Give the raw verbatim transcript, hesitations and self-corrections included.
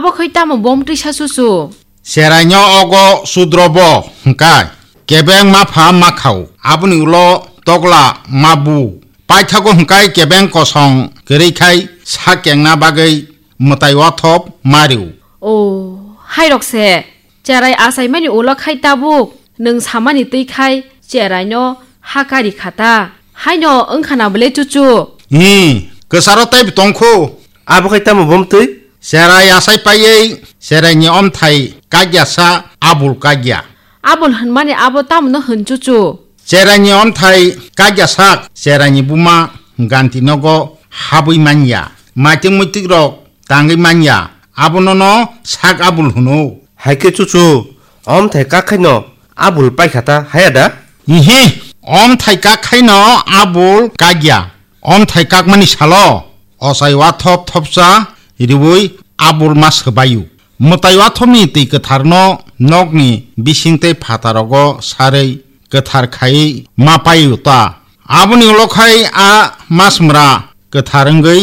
Abo khai tamo bom twisa chuchu? Cheraino ogo chudrobo hwnkhe kebeng ma pha ma khao, aboni ulo tokla ma bu. Paithago hwnkhe kebeng kosong kwrwi khai sa kengna bagwi mwtai wathop ma rw. O, hairok se. Cherai achaimani ulo khai tabuk nwng samani twi khai cheraino ha kari kha ta. Haino wngkha na bwle chuchu? Hi, kwcharo teibo tongkhu. Abo khai tamo bom twi? Cherai achai paiwi cheraini omthai kagyasa abul kagya. Abul hwnmani abo tamno hwn chuchu? Cheraini omthai kagyasa cheraini buma ganti nogo habwi manya. Maitik muitik rok tangwi manya, abono no sak abul hwno. Hai khe chuchu, omthai kak khaino abul paikha ta, haya da? Ihi, omthai kak khaino abul kagya. Omthai kakmani salo ochai wathop thopsa riwi abul ma swbaio. Mwtai wathopni twi kwtharno nokni bising tei phatarogo sarwi kwthar khaiwi ma paio ta. Aboni ulo khai a masmra kwthar wngwi